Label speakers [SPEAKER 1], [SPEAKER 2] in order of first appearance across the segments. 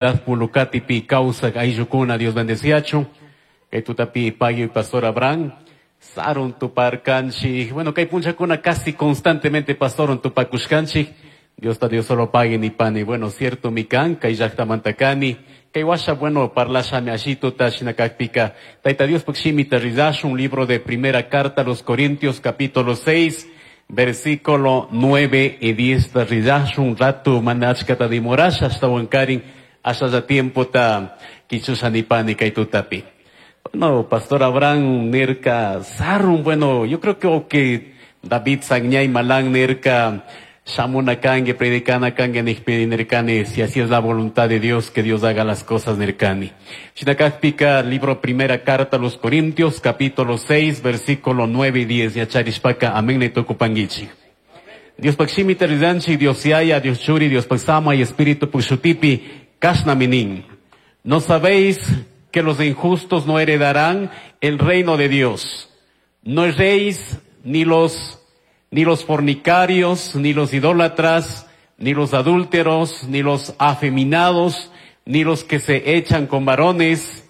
[SPEAKER 1] Pulucatipi kawsak ayllukuna Dios bendeciachun. Kay tutapi pagui Pastor Abraham. Sarun tuparkanchik. Bueno, kay punchakuna casi constantemente pastorun tupakushkanchik. Dios ta Dios solo pague ni pani. Bueno, cierto mi kan, kay llaqtamanta kani. Kay washa, bueno, parlashami ashituta shinakakpika. Taita Dios pukshimita rizashun, libro de primera carta a los Corintios, capítulo 6, versículo 9 y 10. Rizashun ratu manachkata dimorasha hasta wankarin, hasta tiempo ta kichushanipani kay tutapi. Bueno, Pastor Abraham nirka sarun, bueno, yo creo que okay, David Sagñay Malán nirka shamuna kange, predicana kange, nihpini nirkani, si así es la voluntad de Dios, que Dios haga las cosas nirkani. Shinakakpika, libro primera carta a los Corintios, capítulo 6, versículo 9 y 10, yacharishpaka, amén nitukupangichi. Dios pakshimi terizanchi, Dios yaya, Dios churi, Dios paksama y Espíritu pushutipi, kashna minin. ¿No sabéis que los injustos no heredarán el reino de Dios? No erréis ni los fornicarios, ni los idólatras, ni los adúlteros, ni los afeminados, ni los que se echan con varones,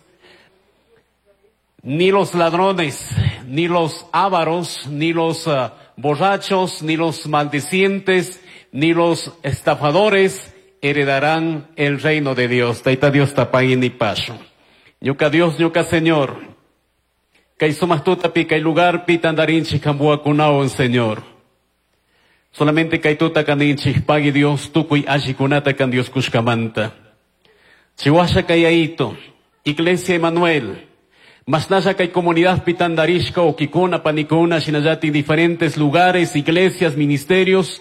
[SPEAKER 1] ni los ladrones, ni los ávaros, ni los borrachos, ni los maldicientes, ni los estafadores heredarán el reino de Dios. Taita Dios tapagui ni pasho. Ñuka Dios, ñuka Señor. Kay sumaq tutapi, kay lugarpi tandarinchik kambuakunawan, Señor. Solamente kay tuta kaninchik pagui Dios tukuy allikunata kan Dios kushkamanta. Chihuahua kayaito, Iglesia Emanuel, masnaya kay comunidad pitandarishka, okikuna, panikuna, shinayati diferentes lugares, iglesias, ministerios,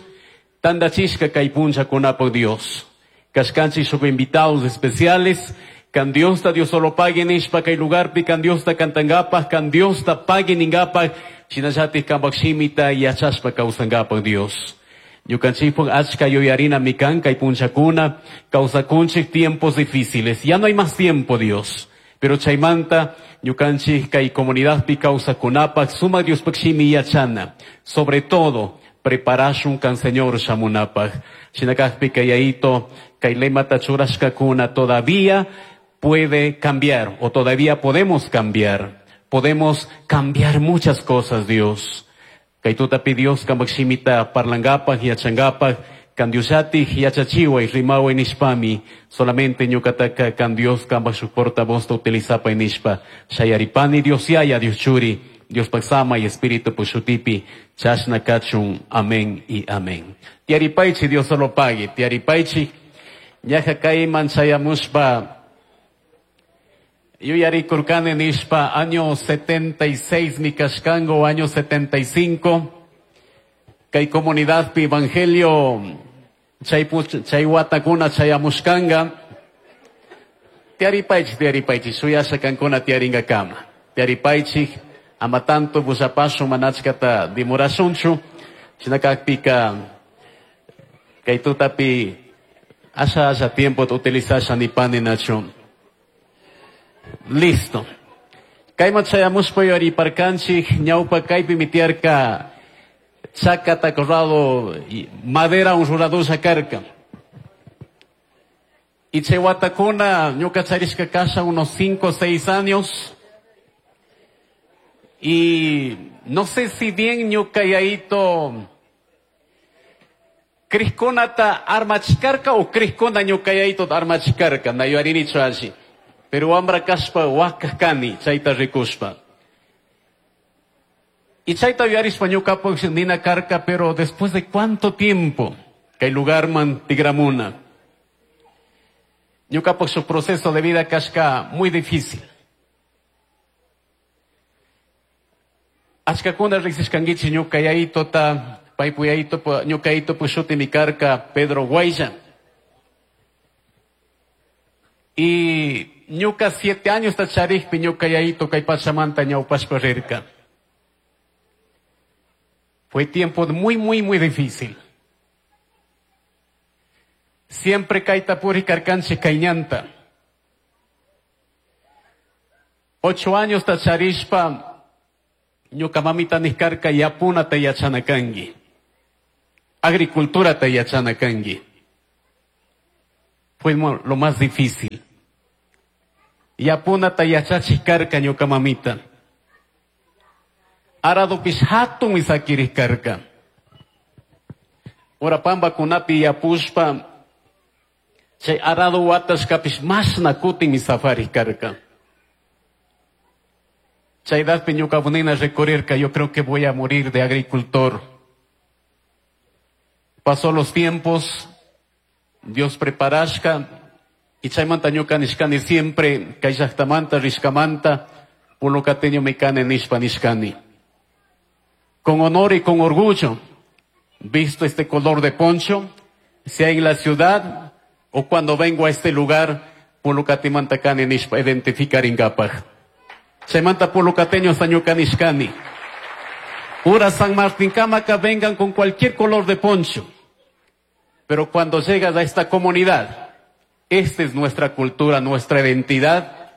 [SPEAKER 1] tandachishka kay puncha kunapo Dios. Kashkanchik shuk invitados especiales, kan Dios ta Dios solo pague nishpa kay lugarpi, kan Dios ta kantangapaj, kan Dios ta pague ningapaj, shinayati kambak shimita yachashpa kawsangapaj Dios. Ñukanchikpuk achka yuyarina mikan kay punchakuna, kawsakunchik tiempos difíciles. Ya no hay más tiempo, Dios. Pero chaymanta, ñukanchik kay comunidadpi kawsakunapaj, sumak Diospuk shimi yachana. Sobre todo, preparashun kan Señor shamunapaj. Shinakajpi kayayito, kay lemata churashkakuna todavía puede cambiar, o todavía podemos cambiar. Podemos cambiar muchas cosas, Dios. Kay tutapi Dios kambak shimita parlangapaj, yachangapaj, kan Dioshati yachachiwa y rimawa nishpami, solamente ñukataka kan Dios kambak shuk portavoz ta utilizapa nishpa. Shayaripani Dios yaya, Dios churi, Dios paksama y Espíritu pushutipi, chashna kachun, amén y amén. Tiaripaichi, Dios solo pague, tiaripaichi, ñaja kayman chayamushpa, yuyari kurkani nishpa, año 76 mi kashkango, año 75, kay comunidad pi evangelio, chay watakuna chayamushkanga, tiaripaichi, tiaripaichi, shuyasha kankuna tiaringa kama, tiaripaichi, ama tanto bushapashu manachkata dimurashunchu, shinakakpika, kay tutapi, asha asha tiempo utilizasha nipani nachu. Listo. Kayman chayamushpa yuyariparkanchik, ñawpa kaypi mitiarka chakata corrado madera un ruradusha karka. Y chay watakuna ñuka charishka kasha unos 5 o 6 años. Y no sé si bien ñuka yaito Crisconata armachkarka o Criscona ñuka yaito armachkarka, na yuarinichu alli. Pero wambra kashpa wakakani, chayta rikushpa. Y chayta yuyarishpa ñukapak nina karka, pero después de cuánto tiempo, kay lugarman tigramuna. Ñukapak su proceso de vida kashka muy difícil. Achkakuna riksishkankichik ñuka yayitota, paypu yayito, ñuka yayito pushuti mi karka Pedro Guaya. Y ñuka 7 años tacharikpi ñuka yayito kay pachamanta ñawpashpa rirka. Fue tiempo muy, muy, muy difícil. Siempre kayta puri karkanchik kayñanta. 8 años tacharishpa ñuka mamita niskarka yapuna te yachana kanki. Agricultura te yachana kanki. Fue lo más difícil. Yapunata yachachik karka ñuka mamita. Aradopish hatun sakirik karka. Ora pambakunapi yapushpa chay arado watashkapish mashna kutin safarik karka. Chaydadpi ñuka bunina recorrerka, yo creo que voy a morir de agricultor. Pasó los tiempos, Dios preparashka, y chaymanta ñuka nishkani siempre, kay llaqtamanta rishkamanta, pulucateño mikani nishpa nishkani. Con honor y con orgullo, visto este color de poncho, sea en la ciudad o cuando vengo a este lugar, pulucatimanta kani nishpa identificaringapaj. Chaymanta pulucateño ñuka nishkani. Ura San Martín Cámaca vengan con cualquier color de poncho. Pero cuando llegas a esta comunidad, esta es nuestra cultura, nuestra identidad.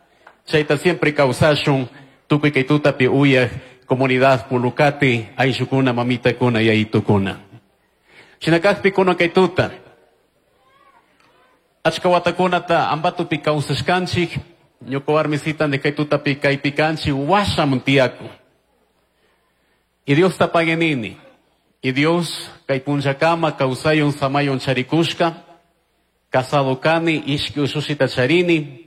[SPEAKER 1] Chayta siempre kawsashun, tukuy kay tutapi uyaj, comunidad Pulucati, ayllukuna, mamitakuna, yayitukuna. Shinakajpi kuna kay tuta. Achka watakunata Ambatopi kawsashkanchik, ñuka warmisita de kay tutapi kaypi kanchik, washamun tiyaku. Y Dios ta paguenini. Y Dios kay punllakama kawsayun samayun charikushka, casado kani, ishki ushushita charini,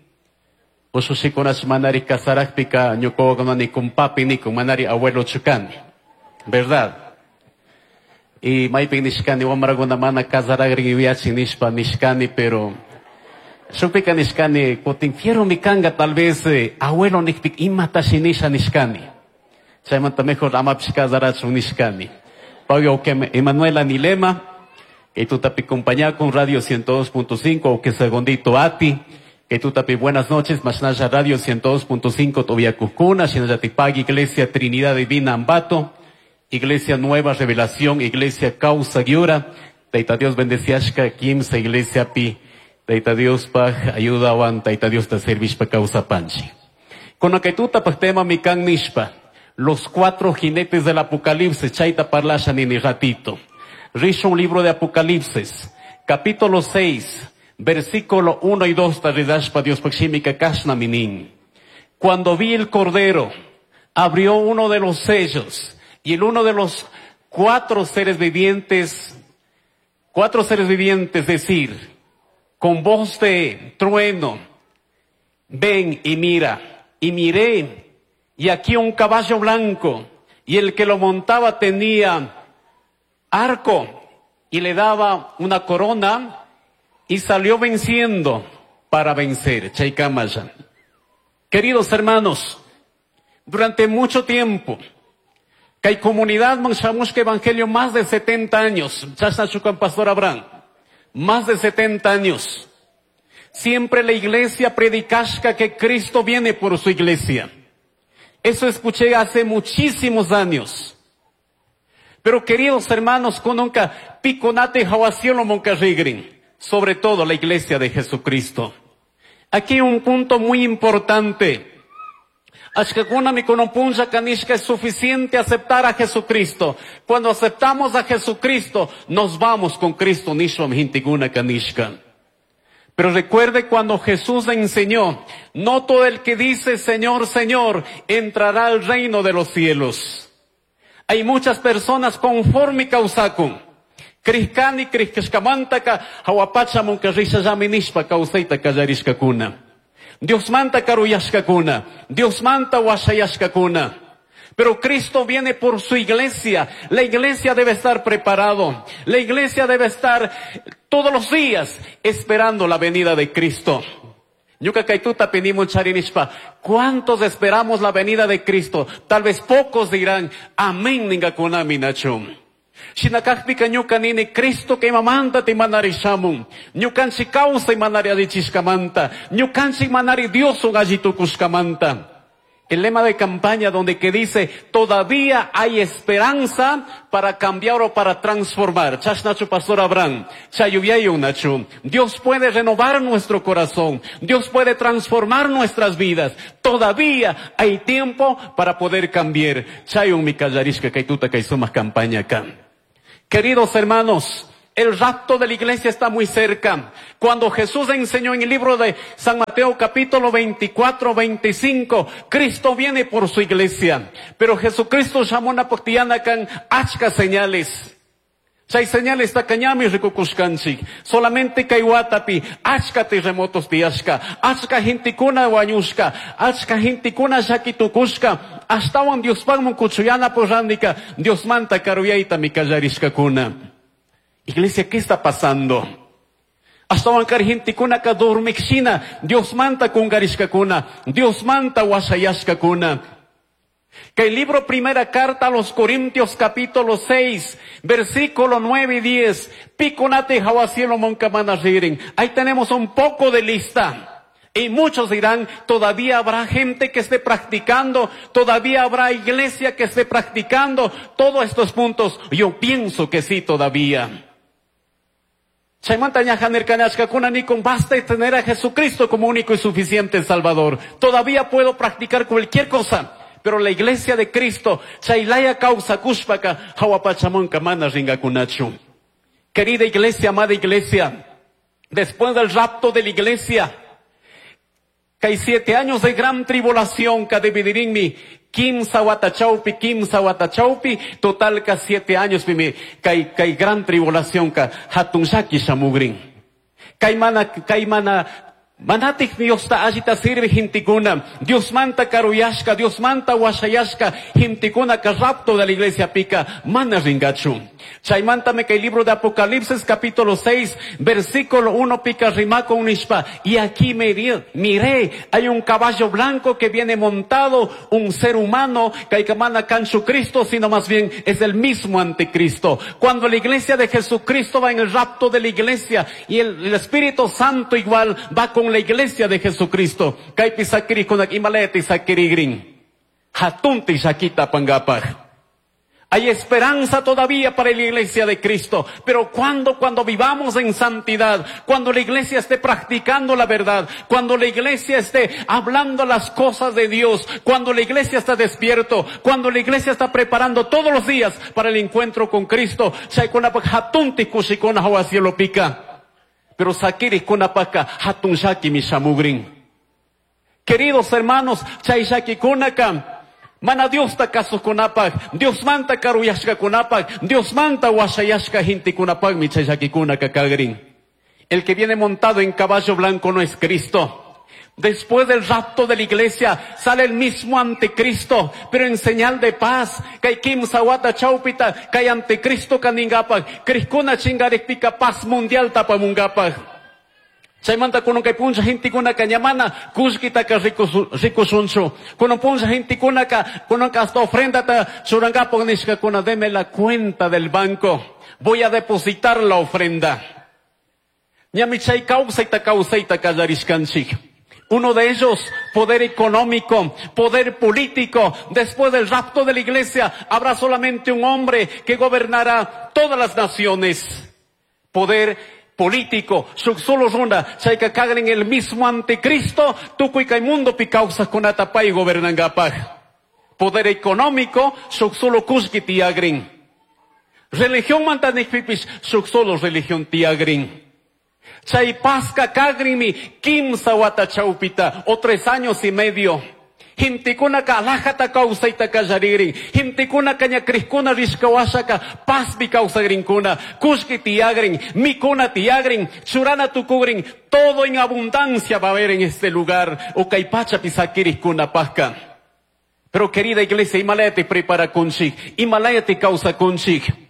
[SPEAKER 1] ushushikunash manari kasarakpika ñuka wawakunani kun papi nikun manari abuelo chukani. ¿Verdad? Y maypin nishkani wamrakuna mana kasaragrin yuyachin nishpa nishkani, pero shukpika nishkani kutin fierro mi kanga tal vez abuelo nikpik imatashi nisha nishkani. Chaymanta mejor amapish kasarachun nishkani. Pablo que Emanuela Nilema, que tutapi compañía con Radio 102.5, o que segundito ati, que tutapi buenas noches, Mashnaya Radio 102.5, Tobia Cuscuna, Shinayatipag, Iglesia Trinidad Divina Ambato, Iglesia Nueva Revelación, Iglesia Causa Giura, Taita Dios bendeciashka, Kimsa Iglesia Pi, Taita Dios paj, ayuda wan, Taita Dios ta servishpa causa panchi. Con que tuta paj tema mi kan nishpa, los 4 jinetes del Apocalipsis, chaita parlasha nini ratito. Rish un libro de Apocalipsis, capítulo 6, versículo 1 y 2, taridashpa Dios pakshimika kashna minin. Cuando vi el Cordero, abrió uno de los sellos, y el uno de los 4 seres vivientes, 4 seres vivientes decir, con voz de trueno, ven y mira, y miré, y aquí un caballo blanco, y el que lo montaba tenía arco, y le daba una corona, y salió venciendo para vencer. Chaykamaya. Queridos hermanos, durante mucho tiempo, que hay comunidad Manchamushka Evangelio más de 70 años, Chasnachucan Pastor Abraham, más de 70 años. Siempre la iglesia predicashka que Cristo viene por su iglesia. Eso escuché hace muchísimos años. Pero queridos hermanos, cononca piconate jahuacielo moncarrigrin, sobre todo la iglesia de Jesucristo. Aquí un punto muy importante. Ashkakuna mikonopunja kanishka es suficiente aceptar a Jesucristo. Cuando aceptamos a Jesucristo, nos vamos con Cristo nishwam hintiguna kanishka. Pero recuerde cuando Jesús enseñó, no todo el que dice Señor, Señor, entrará al reino de los cielos. Hay muchas personas conforme causacum. Krishkani, krishkamantaka, hawapacha munkarrisha yaminishpa causaita kallarishkakuna. Dios manta karuyashkakuna. Dios manta washayashkakuna. Pero Cristo viene por su iglesia. La iglesia debe estar preparado. La iglesia debe estar todos los días esperando la venida de Cristo. Ñuka kaytuta pinimon charinishpa. ¿Cuántos esperamos la venida de Cristo? Tal vez pocos dirán, amén, ningakunami nachum. Shinakajpika ñuka nini Cristo que mamanta te manari shamun. Ñukanchi causa y manari adichishkamanta. Ñukanchi manari Dios un allitukushkamanta. El lema de campaña donde que dice, todavía hay esperanza para cambiar o para transformar. Chashnachu Pastor Abraham, Chayuyayu Nachu. Dios puede renovar nuestro corazón. Dios puede transformar nuestras vidas. Todavía hay tiempo para poder cambiar. Chayun mi kallarishka kaytuta kay sumaq campaña acá. Queridos hermanos, El rapto de la iglesia está muy cerca. Cuando Jesús enseñó en el libro de San Mateo capítulo 24, 25, Cristo viene por su iglesia. Pero Jesucristo llamó a kan achka señales. Chay señales tacañami rikukushkanchik. Solamente kay watapi achka terremotos tiyashka, achka gentekuna wañushka, achka gentekuna llakitukushka, ashtawan Diospakman kuchuyana porrandika, Diosmanta karuyayta mi kallarishkakuna. Iglesia, ¿qué está pasando? Ashtawan kari gentekunaka dormikshina, Diosmanta kungarishkakuna, Diosmanta washayashkakuna. Que el libro Primera Carta a los Corintios capítulo 6, versículo 9 y 10, Pikunate jawa cielo monkamana ririn. Ahí tenemos un poco de lista. Y muchos dirán, todavía habrá gente que esté practicando, todavía habrá iglesia que esté practicando todos estos puntos. Yo pienso que sí todavía. Chaymanta ñaja nirkanachkakuna nikun, basta tener a Jesucristo como único y suficiente Salvador. Todavía puedo practicar cualquier cosa. Pero la iglesia de Cristo, chaylaya kawsakushpaka, hawapachamanka mana ringakunachu. Querida iglesia, amada iglesia, después del rapto de la iglesia, kay 7 años de gran tribulación, ka dividirinmi, kimsa wata chawpi, kimsa wata chawpi, total ka 7 años pimi, kay gran tribulación ka hatun llaki shamugrin. Kay mana, kay mana, manatik Diosta allita sirve gentekuna, Dios manta karuyashka, Dios manta washayashka, gentekuna ka rapto de la iglesia pica, mana ringachu. Chaymanta me que el libro de Apocalipsis capítulo 6, versículo 1 pica rimaco unishpa, y aquí me miré, hay un caballo blanco que viene montado, un ser humano, que hay que mana canchu Cristo, sino más bien es el mismo anticristo. Cuando la iglesia de Jesucristo va en el rapto de la iglesia, y el Espíritu Santo igual va con la iglesia de Jesucristo. Kaypi sakirikunak imaleti sakirigrin. Hatunti llakita pangapaj. Hay esperanza todavía para la iglesia de Cristo. Pero ¿cuándo? Cuando vivamos en santidad, cuando la iglesia esté practicando la verdad, cuando la iglesia esté hablando las cosas de Dios, cuando la iglesia está despierto, cuando la iglesia está preparando todos los días para el encuentro con Cristo. Chaykunapaj hatunti kushikuna hawa cielo pica. Pero sakirikunapajka hatun llaki mishamugrin. Queridos hermanos, chay llakikunaka mana Diosta kasukunapaj, Dios manta karuyashkakunapaj, Dios manta washayashka gentekunapajmi chay llakikunaka kagrin. El que viene montado en caballo blanco no es Cristo. Después del rapto de la iglesia sale el mismo anticristo, pero en señal de paz. Kay kimsa wata chawpita, kay anticristo kaningapaj, krikuna chingarikpika paz mundial tapamungapaj. Chaymanta kunan kay punlla gentekunaka ñamana kullkitaka rikushunchu. Kunan punlla gentekunaka, kunan hasta ofrendata churankapaj nishkakuna, deme la cuenta del banco. Voy a depositar la ofrenda. Ñami chay kawsayta kawsayta kallarishkanchik. Uno de ellos, poder económico, poder político. Después del rapto de la iglesia, habrá solamente un hombre que gobernará todas las naciones. Poder político, shuk solo runa, chayka kagren el mismo anticristo, tukuy kay mundo pi kawsajkunata pay gobernangapaj. Poder económico, shuk solo kullki tiyagrin. Religión mantanikpipis, shuk solo religión tiyagrin. Chay pasca kagrinmi kimsa wata chawpita o 3 años y medio. Gentekunaka alajata kawsayta kallaririn. Gentekunaka ñakrikuna rishkawashaka paspi kawsagrinkuna. Kullki tiyagrin, mikuna tiyagrin, churana tukugrin. Todo en abundancia va a haber en este lugar. O kay pachapi sakirikkuna pasca. Pero querida iglesia, Himalaya te prepara kunchik. Himalaya te causa kunchik.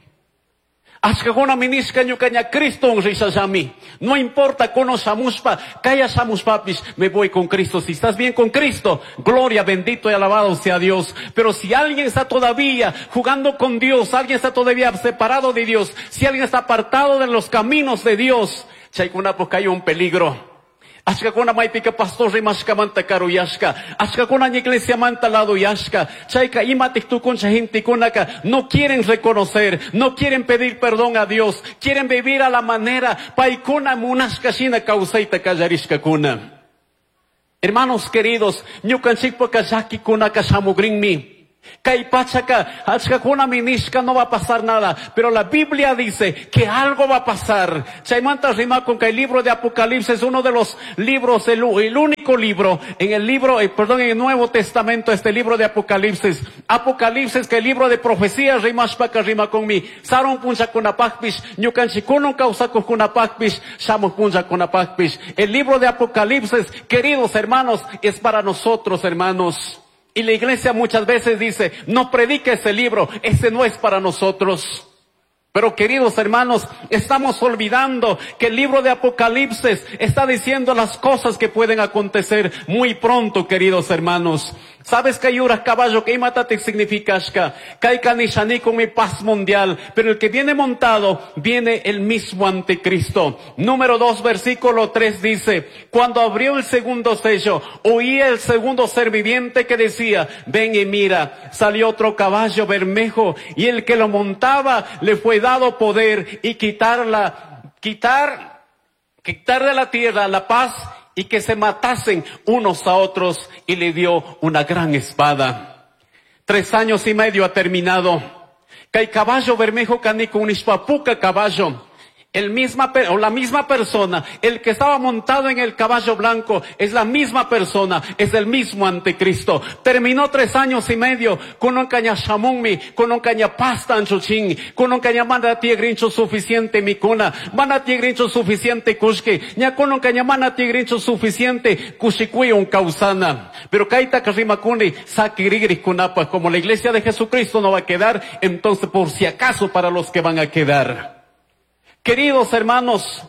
[SPEAKER 1] Ashkakuna minishka ñukaña Cristo rishallami. No importa kono shamushpa, kaya shamushpapis, me voy con Cristo. Si estás bien con Cristo, gloria, bendito y alabado sea Dios. Pero si alguien está todavía jugando con Dios, alguien está todavía separado de Dios, si alguien está apartado de los caminos de Dios, chaykunapaj hay un peligro. Ashkakuna maypika pastor rimashkamanta karuyashka. Ashkakuna iglesia manta lado yashka. Chayka imatik tukuncha gentekunaka no quieren reconocer, no quieren pedir perdón a Dios, quieren vivir a la manera paykuna munashka shina kawsayta kallarishkakuna. Hermanos queridos, ñukanchikpaka llakikunaka shamugrinmi. Kay pachaka, achkakuna nishka no va a pasar nada. Pero la Biblia dice que algo va a pasar. Chaymanta rimakun kay libro de Apocalipsis, uno de los libros, el único libro, en el libro, perdón, en el Nuevo Testamento, este libro de Apocalipsis. Apocalipsis, que el libro de profecía, rimashpaka rimakunmi. Sarun punllakunapaqpish, ñukanchikunan kawsakuqkunapaqpish, shamuq punllakunapaqpish. El libro de Apocalipsis, queridos hermanos, es para nosotros, hermanos. Y la iglesia muchas veces dice, no predique ese libro, ese no es para nosotros. Pero queridos hermanos, estamos olvidando que el libro de Apocalipsis está diciendo las cosas que pueden acontecer muy pronto, queridos hermanos. ¿Sabes que yura caballo que imatate significa ashka? Kay kanishani con mi paz mundial. Pero el que viene montado, viene el mismo anticristo. Número 2, versículo 3 dice, cuando abrió el segundo sello, oí el segundo ser viviente que decía, ven y mira, salió otro caballo bermejo, y el que lo montaba le fue dado poder y quitar de la tierra la paz y que se matasen unos a otros, y le dio una gran espada. 3 años y medio ha terminado. Kay caballo bermejo canico unishpapuca caballo. El misma, o la misma persona, el que estaba montado en el caballo blanco, es la misma persona, es el mismo anticristo. Terminó 3 años y medio con un caña shamunmi, con un caña pasta anchuchín, con un caña mana tiegrincho suficiente mikuna, mana tiegrincho suficiente kushki, ña con un caña mana tiegrincho suficiente kushikui un causana. Pero kaita karimakuni sakirigris kunapa, como la iglesia de Jesucristo no va a quedar, entonces por si acaso para los que van a quedar. Queridos hermanos,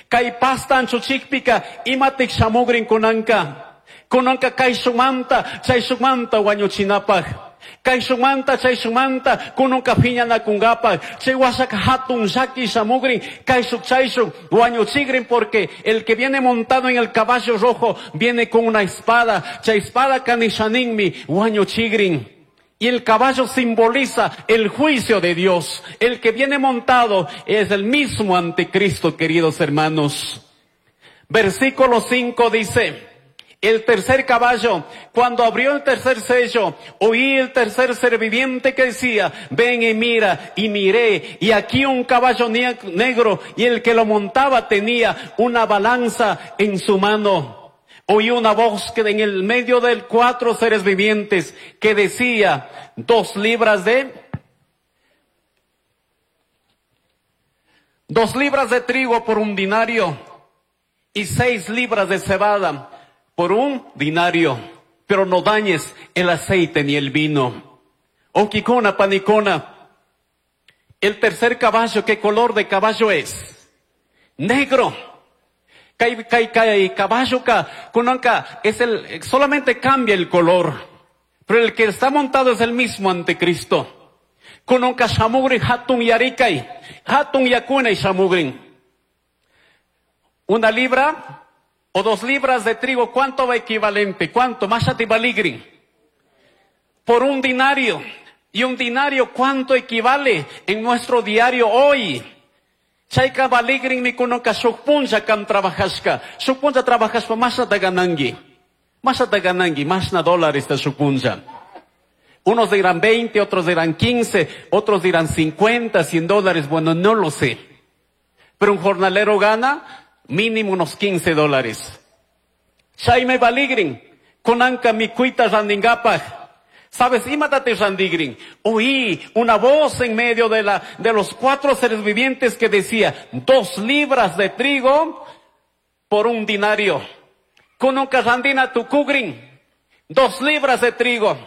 [SPEAKER 1] kay pasta anchuchikpika imatik shamugrin kunanka. Kunanka kay shumanta, chay shumanta wañuchinapaj. Kay shumanta, chay shumanta, kunanka piñanakungapaj. Chay wasaka hatun shaki shamugrin, kay shuk chay shuk wañuchigrin, porque el que viene montado en el caballo rojo viene con una espada. Chay espada kanishaninmi wañuchigrin. Y el caballo simboliza el juicio de Dios. El que viene montado es el mismo anticristo, queridos hermanos. Versículo 5 dice, el tercer caballo, cuando abrió el tercer sello, oí el tercer ser viviente que decía, ven y mira, y miré, y aquí un caballo negro, y el que lo montaba tenía una balanza en su mano. Oí una voz que en el medio de 4 seres vivientes que decía, 2 libras de 2 libras de trigo por un dinario y 6 libras de cebada por un dinario, pero no dañes el aceite ni el vino. Oquicona, panicona. El tercer caballo, ¿qué color de caballo es? Negro. Kai, kai, kai, caballo ka, kunanka, es el, solamente cambia el color, pero el que está montado es el mismo anticristo. Kunanka shamugri hatun yarikai, hatun yakuna y shamugrin. 1 libra o 2 libras de trigo, ¿cuánto va equivalente? ¿Cuánto? Mashati baligrin. Por un dinario. Y un dinario, ¿cuánto equivale en nuestro diario hoy? Chayka baligrin mi kunoka shukpuncha kam trabajashka. Shukpuncha trabajashpa masha taganangi. Masha taganangi, masna dólares ta shukpuncha. Unos dirán 20, otros dirán 15, otros dirán 50, 100 dólares. Bueno, no lo sé. Pero un jornalero gana mínimo unos 15 dólares. Chayme baligrin, konanka mi kuita randingapaj. ¿Sabes? Imátate randigrin. Oí una voz en medio de los 4 seres vivientes que decía, 2 libras de trigo por un dinario. Kununka randina tukugrin. 2 libras de trigo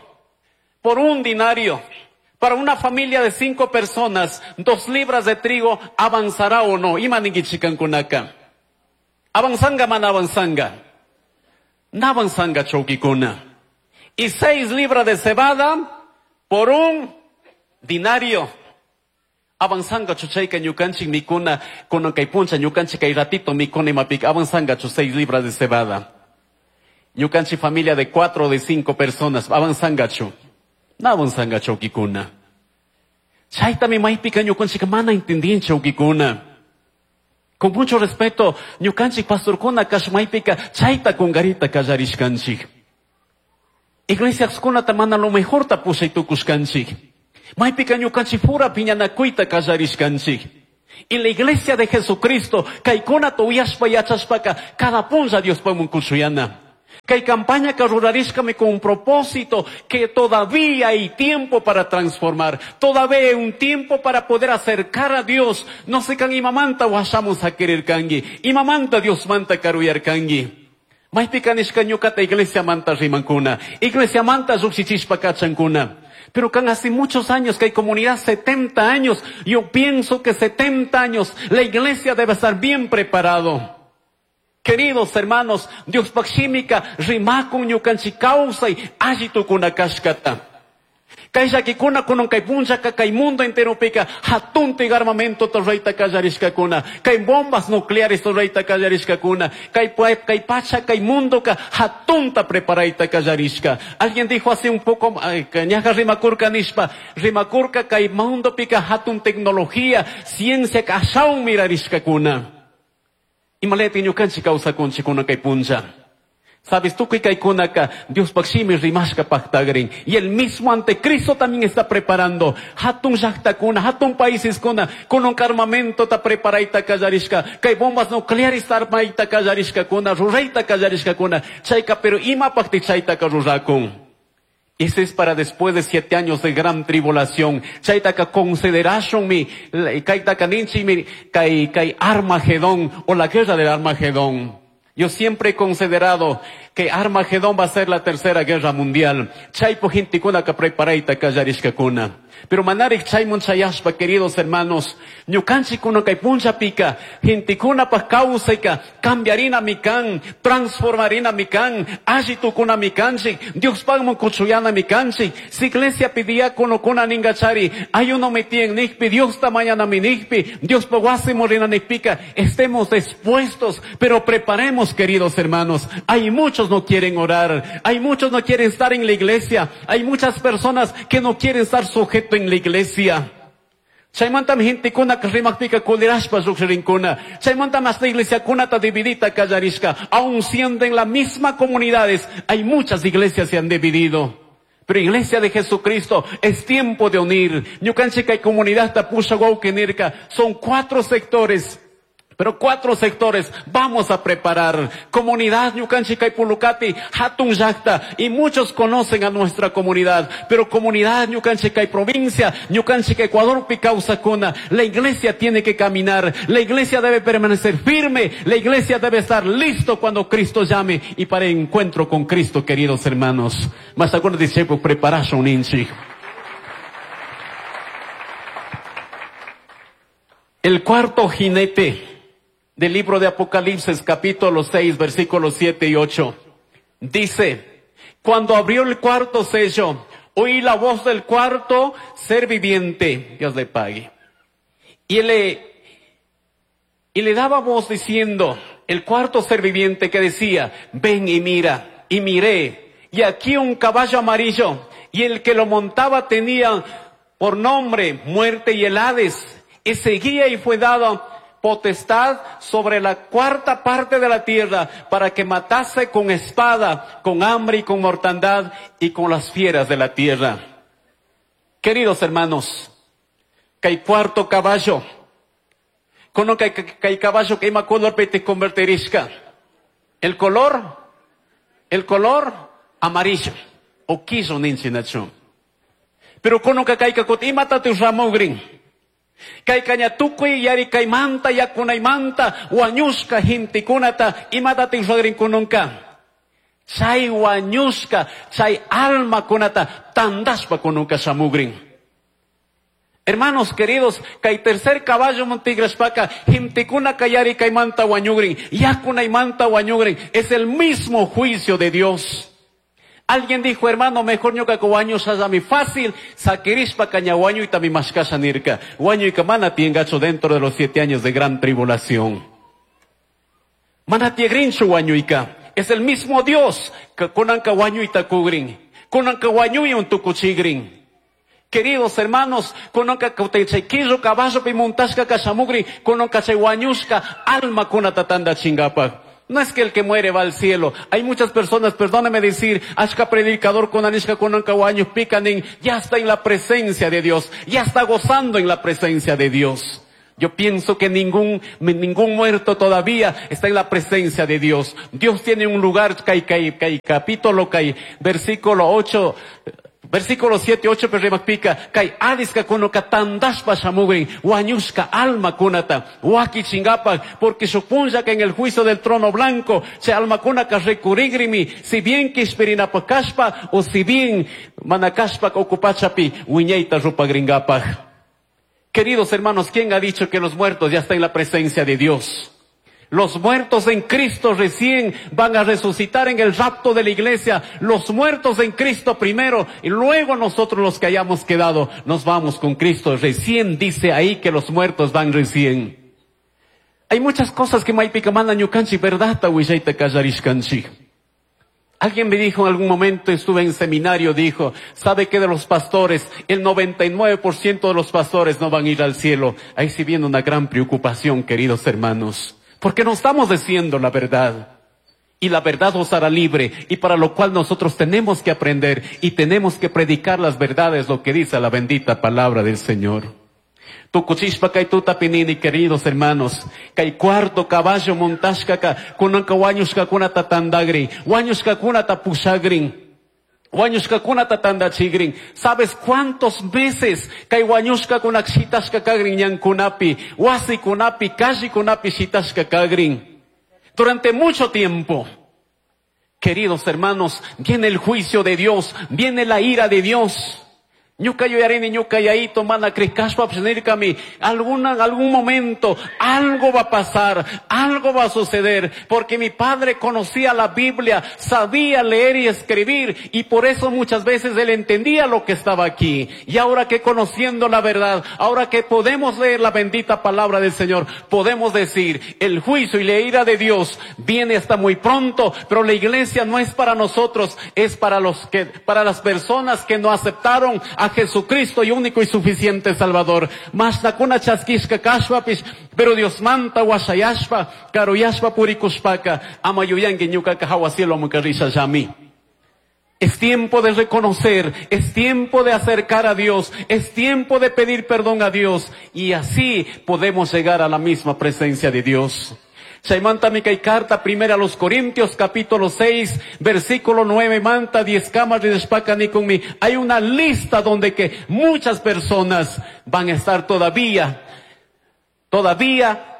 [SPEAKER 1] por un dinario. Para una familia de 5 personas, 2 libras de trigo avanzará o no. Imaningichikankunaka. Avanzanga man avanzanga. Navanzanga chokikuna. Y 6 libras de cebada por un dinario. Avanzanga chuchayka ñukanchik mikuna, kunan kay puncha ñukanchik kay ratito mikuna imapik, avanzanga chu 6 libras de cebada. Ñukanchik familia de 4 o de 5 personas, avanzanga chu. Na avanzanga chawkikuna. Chaytami maypika ñukanchik mana entendin chawkikuna. Con mucho respeto, ñukanchik pastorkuna kashmaypika chayta kungarita kallarishkanchik. Iglesiaskunata mana lo mejorta pushay tukushkanchik. Maypika ñukanchik pura piñanakuyta kallarishkanchik. Y la iglesia de Jesucristo, kaykunata uyashpa yachashpaka, cada punlla Diospakman kushuyana. Kay campaña que rurarishkami con un propósito que todavía hay tiempo para transformar. Todavía hay un tiempo para poder acercar a Dios. No sé kan imamanta washamus hakirir kangi. Imamanta Dios manta karuyar kangi. Maypika nishka ñukata iglesia manta rimankuna. Iglesia manta llukshichishpa kachankuna. Pero kan hace muchos años que hay comunidad, 70 años, yo pienso que 70 años la iglesia debe estar bien preparado. Queridos hermanos, Dios pakshimika rimakun ñukanchik kawsay alli tukuna kashkata. Kay llakikuna kunan kay punllaka kay mundo enteropika hatuntik armamento rurayta kallarishkakuna, kay bombas nucleares rurayta kallarishkakuna, kay kay pacha kay mundoka hatunta preparayta kallarishka. Alguien dijo hace un poco, ñaja rimakurka nishpa, rimakurka kay mundopika hatun tecnología, ciencia ashawan mirarishkakuna. Imaleti ñukanchik kawsakunchik kunan kay punlla. Sabes tú que kaykunaka Dios pakshimi rimashka paktagrin. Y el mismo anticristo también está preparando. Hatun llaqtakuna, hatun países kuna, con un armamento ta preparayta kallarishka. Kay bombas nucleares armayta kallarishka kuna, rurayta kallarishka kuna. Chayka, pero imapaqti chaytaka rurakun. Ese es para después de 7 años de gran tribulación. Chaytaka consideration mi, kaytaka ninchi mi, kay, kay Armagedón, o la guerra del Armagedón. Yo siempre he considerado que Armagedón va a ser la tercera guerra mundial. Chaypo gentikuna ka preparayta kallarishkakuna. Pero manarik chaymun chayashpa, queridos hermanos, ñukanchikuna kay punchapika, gentikuna pa kawsayka, cambiarina mikan, transformarina mikan, alli tukuna mikanchik, Diospakman kuchuyana mikanchik. Si iglesia pidiacono kuna ningachari, ayuno metien nikpi, Dios ta mañana mi nikpi, Dios pa wasi morina nikpika, estemos dispuestos, pero preparemos, queridos hermanos. Hay muchos no quieren orar, hay muchos no quieren estar en la iglesia, hay muchas personas que no quieren estar sujetos en la iglesia. Chaymanta mi gentekuna rimakpika kulirashpa lluqshirinkuna. Chaymanta más la iglesia kunata dividita kallarishka. Aun siendo en la misma comunidades, hay muchas iglesias se han dividido. Pero iglesia de Jesucristo, es tiempo de unir. Ñukanchika y comunidad tapusha guauquenirka. Son 4 sectores. Pero 4 sectores vamos a preparar. Comunidad Ñukanchika y Pulucati, Hatun Llaqta, y muchos conocen a nuestra comunidad. Pero comunidad Ñukanchika y provincia, Ñukanchika Ecuador Picausacuna, la iglesia tiene que caminar, la iglesia debe permanecer firme, la iglesia debe estar listo cuando Cristo llame y para el encuentro con Cristo, queridos hermanos. Mas algunos discípulos prepararon un inchi. El cuarto jinete del libro de Apocalipsis, capítulo 6, versículos 7 y 8. Dice, cuando abrió el cuarto sello, oí la voz del cuarto ser viviente. Dios le pague. Y le daba voz diciendo, el cuarto ser viviente que decía, ven y mira, y miré, y aquí un caballo amarillo, y el que lo montaba tenía por nombre Muerte y el Hades, y seguía y fue dado potestad sobre la cuarta parte de la tierra para que matase con espada, con hambre y con mortandad y con las fieras de la tierra. Queridos hermanos, que hay cuarto caballo, con lo que hay caballo que ima color te convertirisca. El color amarillo, o quiso ninchinacho. Pero con lo que hay que ima tatu ramogrin. Kay kañatukuy yari kay manta yakunay manta wañushka hintikunata imatatin ruagrinkununka. Chay wañushka chay almakunata tandashpa kununka shamugrin. Hermanos queridos, kay tercer caballo montigrashpaka hintikuna kayari kay manta wañugrin yakunay manta wañugrin. Es el mismo juicio de Dios. Alguien dijo, hermano, mejor ñuka ko wañu mi fácil, saquirishpa caña wañu y tami mashkasha nirka. Wañu y mana tiengacho dentro de los 7 años de gran tribulación. Mana tiegrinchu wañuika. Es el mismo Dios que kunanka wañu y takugrin. Kunanka wañu y un tukuchigrin. Queridos hermanos, kunanka kautechaikizo caballo pimuntashka kashamugri, kunanka chay wañushka alma kunatatanda chingapa. No es que el que muere va al cielo. Hay muchas personas, perdóneme decir, ashka predicador con anishka con picanin, ya está en la presencia de Dios, ya está gozando en la presencia de Dios. Yo pienso que ningún muerto todavía está en la presencia de Dios. Dios tiene un lugar, kai, kai, kai, capítulo, kai, versículo 8, versículo 7, 8, perremakpika, kai adiska kunoka tandashpa shamugrin, wañushka alma kunata, waki chingapa, porque supunja que en el juicio del trono blanco, che alma kunaka recurigrimi, si bien kishpirinapa o si bien manakashpa ocupachapi, wiñeita rupagringapa. Queridos hermanos, ¿quién ha dicho que los muertos ya están en la presencia de Dios? Los muertos en Cristo recién van a resucitar en el rapto de la iglesia. Los muertos en Cristo primero y luego nosotros los que hayamos quedado nos vamos con Cristo. Recién dice ahí que los muertos van recién. Hay muchas cosas que maypika mana ñukanchik, verdad, willayta kallarishkanchik. Alguien me dijo en algún momento, estuve en seminario, dijo, ¿sabe qué de los pastores? El 99% de los pastores no van a ir al cielo. Ahí sí viene una gran preocupación, queridos hermanos. Porque no estamos diciendo la verdad. Y la verdad os hará libre. Y para lo cual nosotros tenemos que aprender y tenemos que predicar las verdades, lo que dice la bendita palabra del Señor. Tukuchishpa kay tutapinini, queridos hermanos, kay cuarto caballo montashkaka, kunanka wañushkakunata tandagrin, wañushkakunata pushagrin, wañushkakunata tandachigrin. ¿Sabes cuántos veces kay wañushkakuna shitashka kagrin ñankunapi, wasikunapi, kallikunapi shitashka kagrin? Durante mucho tiempo. Queridos hermanos, viene el juicio de Dios, viene la ira de Dios. Ñuka yuyarini, ñuka yaito, mana krikashpa pshnirkami. Algún momento, algo va a pasar, algo va a suceder, porque mi padre conocía la Biblia, sabía leer y escribir, y por eso muchas veces él entendía lo que estaba aquí. Y ahora que conociendo la verdad, ahora que podemos leer la bendita palabra del Señor, podemos decir, el juicio y la ira de Dios viene hasta muy pronto, pero la iglesia no es para nosotros, es para para las personas que no aceptaron a Jesucristo y único y suficiente Salvador. Mashnakuna chaskishka kashpapish, pero Dios manta washayashpa, karuyashpa purikushpaka, ama yuyanki ñukaka hawa cielo mukarrisha llami. Es tiempo de reconocer, es tiempo de acercar a Dios, es tiempo de pedir perdón a Dios, y así podemos llegar a la misma presencia de Dios. Chaymanta mi kay carta primera a los Corintios capítulo 6 versículo 9 manta 10 camas de ni con mi. Hay una lista donde que muchas personas van a estar todavía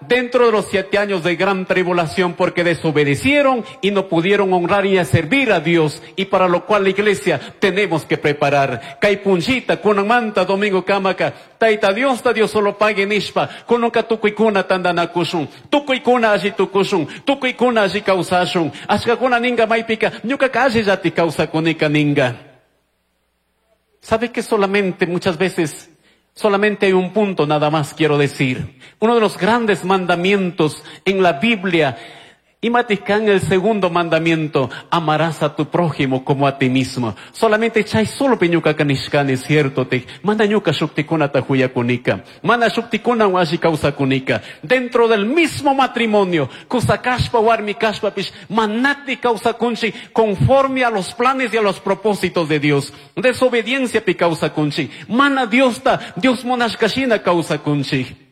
[SPEAKER 1] dentro de los 7 años de gran tribulación porque desobedecieron y no pudieron honrar y servir a Dios, y para lo cual la iglesia tenemos que preparar. Kay punchita, kunamanta, domingo kamaka, taita Dios ta Dios solo pague nishpa, kunuka tukuykuna tandanakushun, tukuykuna alli tukushun, tukuykuna alli kawsashun, ashkakuna ninga maypika, ñukaka alli llati kawsakunika ninga. ¿Sabe que solamente muchas veces solamente hay un punto nada más quiero decir? Uno de los grandes mandamientos en la Biblia, y Maticán el segundo mandamiento, amarás a tu prójimo como a ti mismo. Solamente chay solo piñuca kanishkan es cierto, te manda ñuka shuktikuna tajuya kunika, manda shuktikuna washi causa kunika. Dentro del mismo matrimonio, kusakashpa warmi kashpa pish, manati causa kunchi, conforme a los planes y a los propósitos de Dios. Desobediencia pi causa kunchi, mana Dios ta, Dios monashkashina causa kunchi.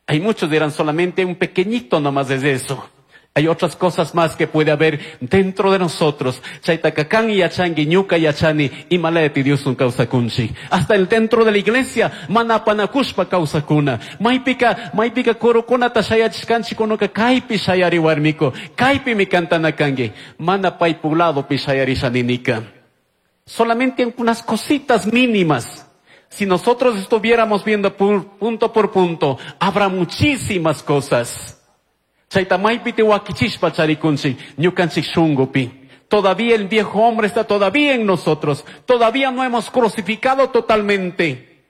[SPEAKER 1] Hay muchos dirán solamente un pequeñito nomás es eso. Hay otras cosas más que puede haber dentro de nosotros. Chaytakakan y yachangi, ñuka yachani, y maleti Dios un causa kunchi. Hasta el dentro de la iglesia, manapanakushpa causa kuna. Maypika, maypika korokuna tashayachkanchi konoka kaypi shayari warmiko, kaypi mi cantanakangi, mana paypulado pi shayarishaninika. Solamente unas cositas mínimas. Si nosotros estuviéramos viendo punto por punto, habrá muchísimas cosas. Chayta maypi te wakichishpa charikunchi, ñukanchik shungupi. Todavía el viejo hombre está todavía en nosotros. Todavía no hemos crucificado totalmente.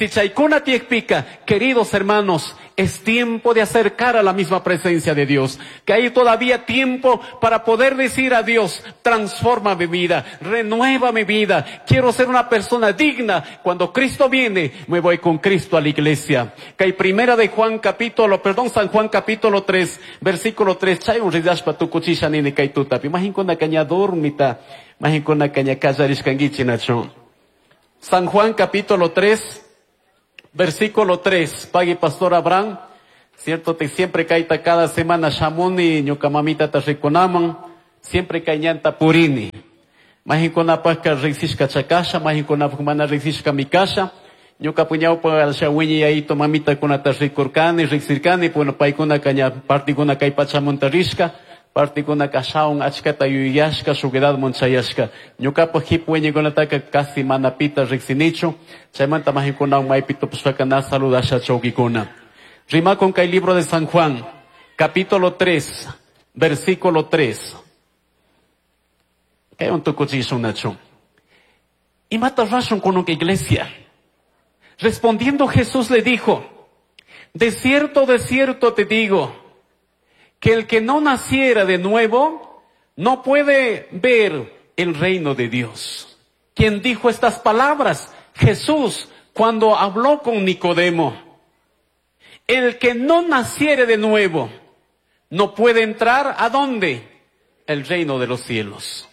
[SPEAKER 1] Si chaykuna tiyakpika, queridos hermanos, es tiempo de acercar a la misma presencia de Dios. Que hay todavía tiempo para poder decir a Dios, transforma mi vida, renueva mi vida. Quiero ser una persona digna. Cuando Cristo viene, me voy con Cristo a la iglesia. Que hay primera de Juan capítulo, perdón, San Juan capítulo 3, versículo 3. Chay un ridashpa tukuchisha nini kay tutapi. Mahinkuna kaña dormita, mahinkuna kaña kallarishkankichik nachu. San Juan capítulo 3, versículo 3. Pagui pastor Abraham, cierto, te siempre kaita cada semana shamuni, ñuka mamita ta rikunaman, siempre kay ñanta purini. Mahinkunapajka riqsishka chakasha, mahinkunapaj mana riqsishka mikasha. Ñuka puñawpa shawiñi yayito mamitakunata rikurkani, riqsirkani, bueno, paykunaka ña partikuna kay pachamunta rishka, partikuna kashawan achkata yuyashka, shuk edadman chayashka. Ñukapaj hipu wiñaykunataka casi mana pita riqsinichu, chaymanta mahinkunawan maypi tupashpaka na saludasha chawkikuna. Rimakun kay libro de San Juan, capítulo 3, versículo 3. Kay un tukuchishun nachu. Imata rashun kunun iglesia. Respondiendo Jesús le dijo, de cierto te digo, que el que no naciera de nuevo, no puede ver el reino de Dios. ¿Quién dijo estas palabras? Jesús, cuando habló con Nicodemo. El que no naciere de nuevo, no puede entrar ¿a dónde? El reino de los cielos.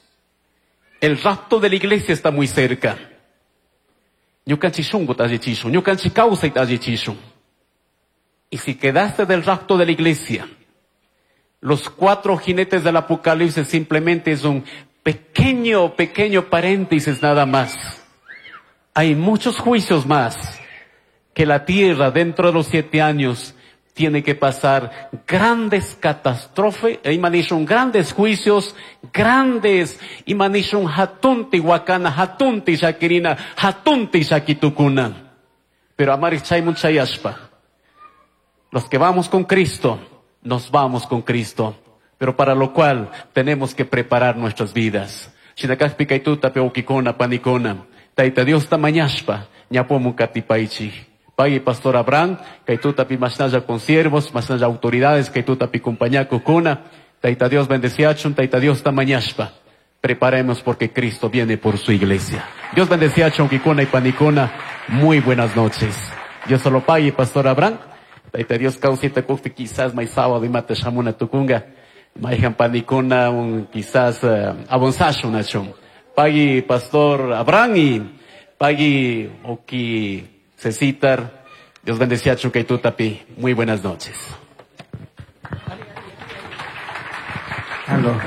[SPEAKER 1] El rapto de la iglesia está muy cerca. Ñukanchik shunkuta allichishun, ñukanchik kawsayta allichishun. Y si quedaste del rapto de la iglesia, los 4 jinetes del Apocalipsis simplemente es un pequeño, pequeño paréntesis nada más. Hay muchos juicios más que la tierra dentro de los 7 años tiene que pasar grandes catástrofes, imanishun grandes juicios, grandes, imanishun hatunti wakana, hatunti shakirina, hatunti shakitukuna. Pero amari chaymun chayashpa. Los que vamos con Cristo, nos vamos con Cristo. Pero para lo cual tenemos que preparar nuestras vidas. Shinakajpi kaytuta peukikona panikona. Taita Dios tamañashpa, ñapomu katipaichi. Pagui pastor Abraham, kaytuta pi mashnalla consiervos, mashnalla autoridades, kaytuta pi compañaco kuna. Taita Dios bendeciachun, taita Dios tamañashpa. Preparemos porque Cristo viene por su iglesia. Dios bendeciachun, kikuna y panikona. Muy buenas noches. Dios solo pague, pastor Abraham. Taita Dios causita kukpi quizás may sábado y mate shamuna tukunga. Maihan panikona un quizás abonsashun achun. Pagui pastor Abraham y pagui oki Cecitar. Dios bendice a Chucaitutapi. Muy buenas noches.
[SPEAKER 2] Aló.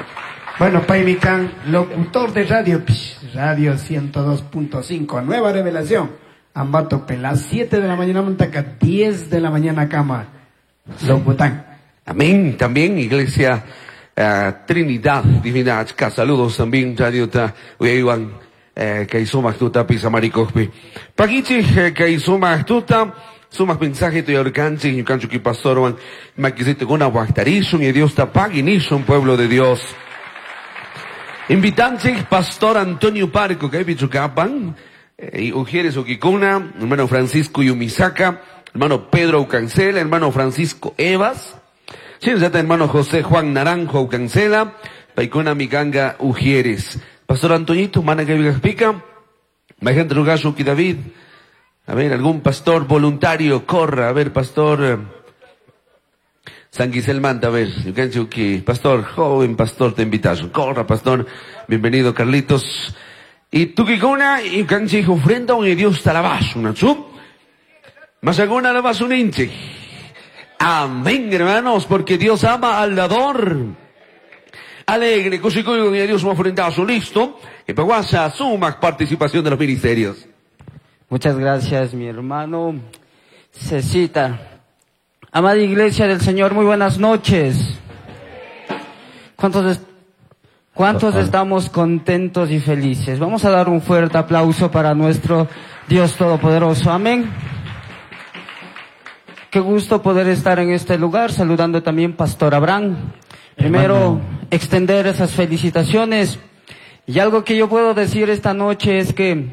[SPEAKER 2] Bueno, Paimicán, locutor de radio, Radio 102.5, Nueva Revelación. Ambato Pelá, 7 de la mañana, Montaca, 10 de la mañana, Cama. Locután.
[SPEAKER 3] Amén. También, Iglesia Trinidad Divina. Saludos también, Radio Ta, Uyayuan. Kay sumaq tutapi samarikuqpi. Pakichik kay sumaq tuta, sumaq mensaje tuyarkanchik, ñukanchik pastorwan, makisitukuna waqtarishun y Dios ta pagui nishun, pueblo de Dios. Invitanchik pastor Antonio Parco, kaypi chukapan, y Ujieres Uquicuna, hermano Francisco Yumisaka, hermano Pedro Ucancela, hermano Francisco Evas, hermano José Juan Naranjo Ucancela, Paikuna Miganga Ujieres. Pastor Antoñito, mana que pica, Majente Rugasho ki David. A ver, algún pastor voluntario, corra. A ver, pastor San Gisel Manta, a ver, pastor, joven pastor, te invitas. Corra, pastor. Bienvenido, Carlitos. Y tukikuna, y kanchi ofrenda un Dios talabash, una chup. Más alguna alabas un hinche. Amén, hermanos, porque Dios ama al dador. Alegre, cosicuyo, y Dios ofrendazo, listo. Que paguasa suma participación de los ministerios.
[SPEAKER 4] Muchas gracias, mi hermano Cecita. Amada Iglesia del Señor, muy buenas noches. ¿Cuántos estamos contentos y felices? Vamos a dar un fuerte aplauso para nuestro Dios Todopoderoso. Amén. Qué gusto poder estar en este lugar, saludando también Pastor Abraham. Primero, extender esas felicitaciones. Y algo que yo puedo decir esta noche es que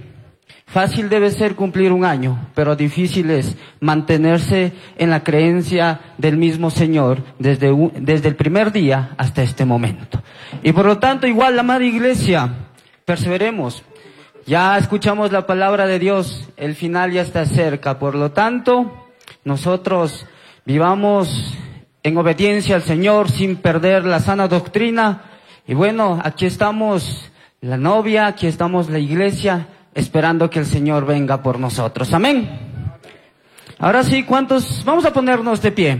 [SPEAKER 4] Fácil debe ser cumplir un año, pero difícil es mantenerse en la creencia del mismo Señor desde el primer día hasta este momento. Y por lo tanto, igual la amada iglesia, perseveremos. Ya escuchamos la palabra de Dios, el final ya está cerca. Por lo tanto, nosotros vivamos en obediencia al Señor sin perder la sana doctrina. Y bueno, aquí estamos la novia, aquí estamos la iglesia, esperando que el Señor venga por nosotros. Amén. Ahora sí, ¿cuántos? Vamos a ponernos de pie.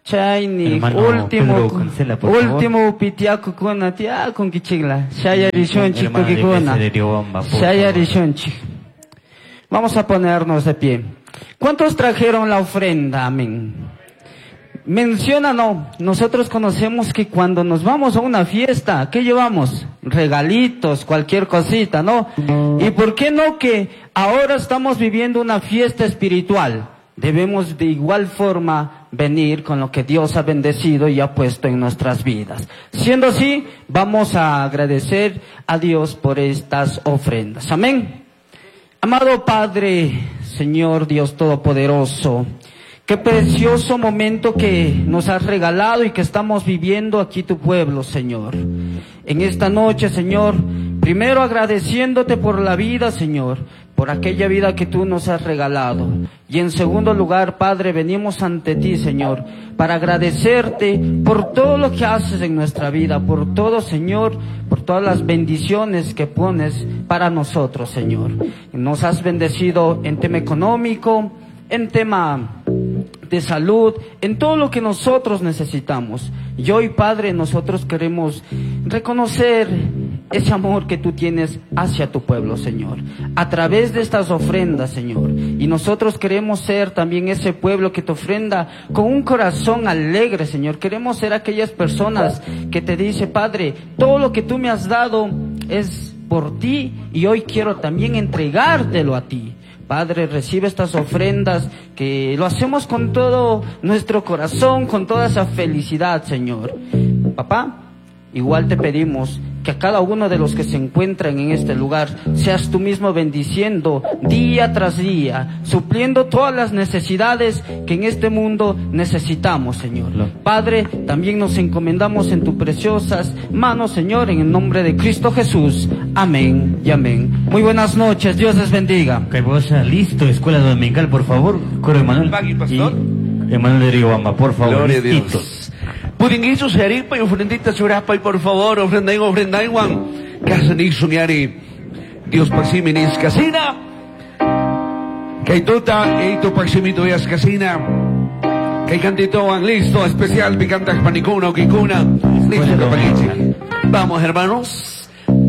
[SPEAKER 4] Chayni,
[SPEAKER 5] Hermano
[SPEAKER 4] último,
[SPEAKER 5] Pedro Cancela, por favor.
[SPEAKER 4] último pitiaco con tia con kichigla. Shaya rishonchi
[SPEAKER 5] Hermano de
[SPEAKER 4] tukikuna.
[SPEAKER 5] Iglesia de Riobamba, por
[SPEAKER 4] Shaya
[SPEAKER 5] favor.
[SPEAKER 4] rishonchi. Vamos a ponernos de pie. ¿Cuántos trajeron la ofrenda? Amén. Menciona, no. Nosotros conocemos que cuando nos vamos a una fiesta, ¿qué llevamos? Regalitos, cualquier cosita, ¿no? ¿Y por qué no que ahora estamos viviendo una fiesta espiritual? Debemos de igual forma venir con lo que Dios ha bendecido y ha puesto en nuestras vidas. Siendo así, vamos a agradecer a Dios por estas ofrendas. Amén. Amado Padre, Señor Dios Todopoderoso, qué precioso momento que nos has regalado y que estamos viviendo aquí tu pueblo, Señor. En esta noche, Señor, primero agradeciéndote por la vida, Señor, por aquella vida que tú nos has regalado. Y en segundo lugar, Padre, venimos ante ti, Señor, para agradecerte por todo lo que haces en nuestra vida, por todo, Señor, por todas las bendiciones que pones para nosotros, Señor. Nos has bendecido en tema económico, en tema de salud, en todo lo que nosotros necesitamos. Y hoy, Padre, nosotros queremos reconocer ese amor que tú tienes hacia tu pueblo, Señor, a través de estas ofrendas, Señor. Y nosotros queremos ser también ese pueblo que te ofrenda con un corazón alegre, Señor. Queremos ser aquellas personas que te dice, Padre, todo lo que tú me has dado es por ti y hoy quiero también entregártelo a ti. Padre, recibe estas ofrendas que lo hacemos con todo nuestro corazón, con toda esa felicidad, Señor. Papá, igual te pedimos que a cada uno de los que se encuentran en este lugar seas tú mismo bendiciendo día tras día, supliendo todas las necesidades que en este mundo necesitamos, Señor. Padre, también nos encomendamos en tus preciosas manos, Señor, en el nombre de Cristo Jesús. Amén y amén. Muy buenas noches, Dios les bendiga.
[SPEAKER 5] Caibosa, listo, Escuela Dominical, por favor. Coro Emanuel.
[SPEAKER 3] Pagui, pastor.
[SPEAKER 5] Y Emanuel de Riobamba, por favor.
[SPEAKER 3] Gloria a Dios.
[SPEAKER 5] Listitos.
[SPEAKER 3] Pudinguicho seripa y ofrendita churapa y por favor, ofrenda y ofrenda y guan. Casa ni soñari. Dios paximinis casina. Kaituta, eito paximito yas casina. Kay cantito listo, especial picanta panicuna o kikuna. Listo,
[SPEAKER 5] Escuela
[SPEAKER 3] paquichi. Vamos, hermanos.